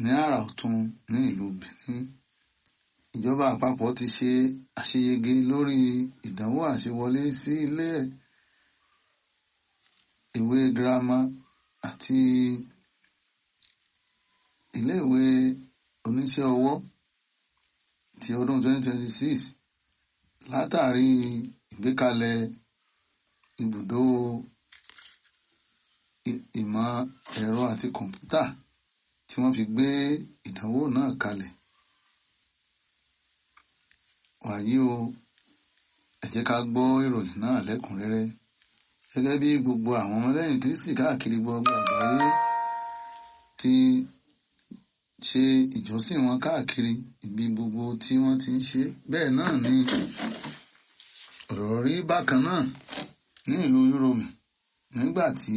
ní àrà ọ̀tún ní ìlú Benin. Ìjọba àpapọ̀ ti ṣe àṣeyege lórí ìdánwò àṣewọlé sí ilé ìwé girama àti ilé ìwé oníṣẹ́ ọwọ́ ti ọdún 2026 látàrí ìgbékalẹ̀ ibùdó ìmọ̀ ẹ̀rọ àti kọ̀ǹpútà tí wọ́n fi gbé ìdánwò náà kalẹ̀. Wàyí o, ẹ jẹ́ ká gbọ́ ìròyìn náà lẹ́kùnrẹ́rẹ́. Gẹ́gẹ́ bí gbogbo àwọn ọmọlẹ́yìn Kristi káàkiri gbogbo àgbáyé ti ṣe ìjọsìn wọn káàkiri ibi gbogbo tí wọ́n ti ń ṣe, bẹ́ẹ̀ náà ni ọ̀rọ̀ rí bákan náà ní ìlú Uromi nígbà tí